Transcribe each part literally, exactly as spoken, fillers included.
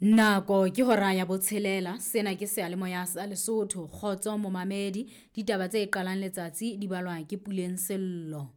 Nako ke hora ya botshelela, sena ke seyalemoya sa Lesotho. Kgotso momamedi, ditaba tse qalang letsatsi di balwa ke Puleng Sello.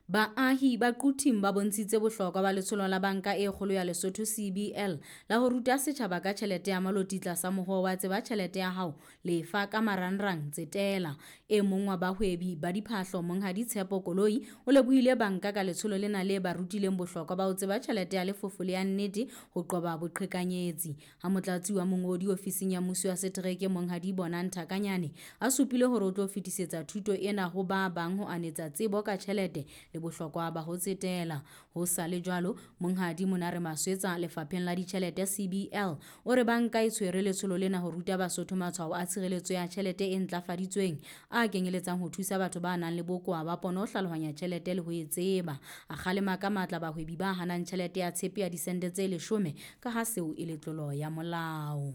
Baahi ba Quthing ba bontshitse bohlokwa ba letsholo la Banka e Kgolo ya Lesotho C B L la ho ruta setjhaba ka tjhelete ya maloti tlasa mohoo wa tseba tjhelete ya hao, lefa ka marangrang, tsetela. E mong wa bahwebi ba diphahlo Monghadi Tshepo Koloi o lebohile banka ka letsholo lena le ba rutileng bohlokwa ba ho tseba tjhelete ya lefofo le ya nnete ho qoba boqhekanyetsi. Ha motlatsi wa mongodi ofising ya mmuso wa setereke Monghadi Bonang Thakanyane a supile hore o tlo fetisetsa thuto ena ho ba bang ho anetsa tsebo ka tjhelete le bohlokwa ba ho tsetela. Ho sa le jwalo, Monghadi Monare Maswetsa lefapheng la ditjhelete C B L o re banka e tshwere letsholo lena ho ruta Basotho matshwao a tshireletso ya tjhelete e ntlafaditsweng a kenyeletsang ho thusa batho ba nang le bokowa ba pono ho hlalohanya tjhelete le ho e tseba. A kgalema ka matla bahwebi ba hanang tjhelete ya tshepe ya disente tse leshome ka ha seo e le tlolo ya molao.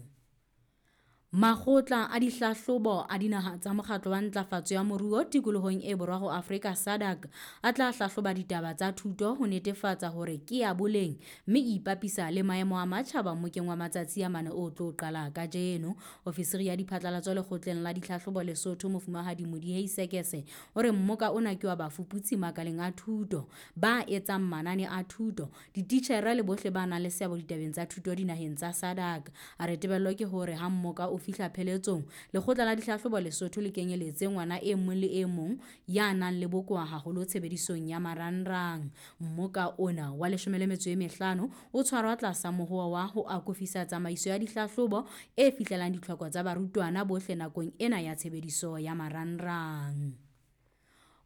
Makgotla a dihlahlobo a dinaha tsa mokgatlo wa ntlafatso ya moruo tikolohong e borwa ho Afrika SADC a tla hlahloba ditaba tsa thuto ho netefatsa hore ke ya boleng mme e ipapisa le maemo a matjhaba mmokeng wa matsatsi a mane o tlo qala kajeno. Ofisiri ya diphatlalatso lekgotleng la ditlhahlobo Lesotho Mofumahadi Modiei Sekese o re mmoka ona ke wa bafuputsi makaleng a thuto ba etsang manane a thuto, dititjhere le bohle ba nang le seabo ditabeng tsa thuto dinaheng tsa SADC. A re tebello ke hore ha mmoka o fihla pheletsong, lekgotla la dihlahlobo Lesotho le kenyeletse ngwana e mong le e mong ya nang le bokowa haholo tshebedisong ya marangrang. Mmoka ona wa leshome le metso e mehlano o tshwarwa tlasa mohoo wa ho akofisa tsamaiso ya dihlahlobo e fihlelang ditlhoko tsa barutwana bohle nakong ena ya tshebediso ya marangrang.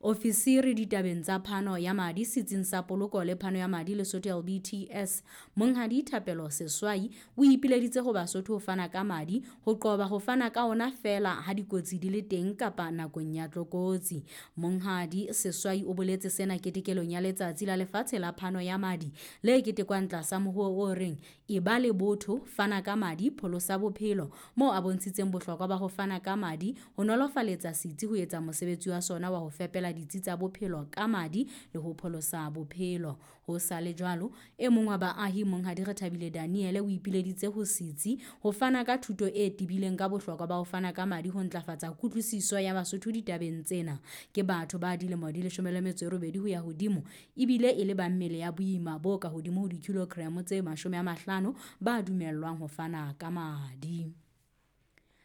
Ofisiri ditabeng tsa phano ya madi setsing sa poloko le phano ya madi Lesotho L B T S Monghadi Thapelo Seswai o ipileditse ho Basotho ho fana ka madi ho qoba ho fana ka ona feela ha dikotsi di le teng kapa nakong ya tlokotsi. Monghadi Seswai o boletse sena ketekelong ya letsatsi la lefatshe la phano ya madi le ketekwang tlasa mohoo o reng e ba le botho, fana ka madi, pholosa bophelo, moo a bontshitseng bohlokwa ba ho fana ka madi ho nolofaletsa setsi ho etsa mosebetsi wa sona wa ho fepela ditsi tsa bophelo ka madi le ho pholosa bophelo. Ho sa le jwalo, e mong wa baahi Monghadi Rethabile Daniel o ipileditse ho setsi ho fana ka thuto e tebileng ka bohlokwa ba ho fana ka madi ho ntlafatsa kutlwisiso ya Basotho ditabeng tsena. Ke batho ba dilemo di leshome le metso e robedi ho ya hodimo ebile e le ba mmele ya boima bo ka hodimo ho dikilogramo tse mashome a mahlano ba dumellwang ho fana ka madi.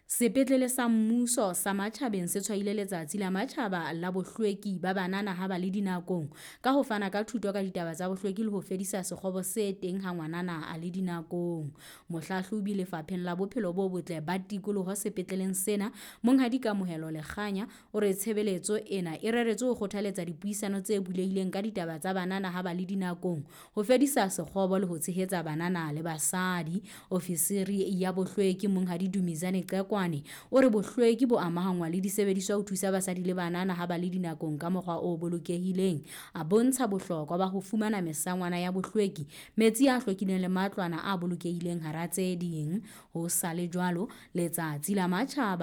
Sepetlele sa mmuso sa Matjhabeng se tshwaile letsatsi la matjhaba la bohlweki ba banana ha ba le dinakong ka ho fana ka thuto ka ditaba tsa bohlweki le ho fedisa sekgobo se teng ha ngwanana a le dinakong. Mohlahlobi lefapheng la bophelo bo botle ba tikoloho sepetleleng sena, Monghadi Kamohelo Lekganya, o re tshebeletso ena e reretswe ho kgothaletsa dipuisano tse bulehileng ka ditaba tsa banana ha ba le dinakong, ho fedisa sekgobo le ho tshehetsa banana le basadi. Ofisiri ya bohlweki Monghadi Dumizane Qekwane o re bohlweki bo amahangwa le disebediswa ho thusa basadi le banana ha ba le dinakong ka mokgwa o bolokehileng. A bontsha bohlokwa ba ho fumana mesangwana ya bohlweki, metsi a hlwekileng le matlwana a bolokehileng hara tse ding. Ho sa le jwalo, letsatsi la matjhaba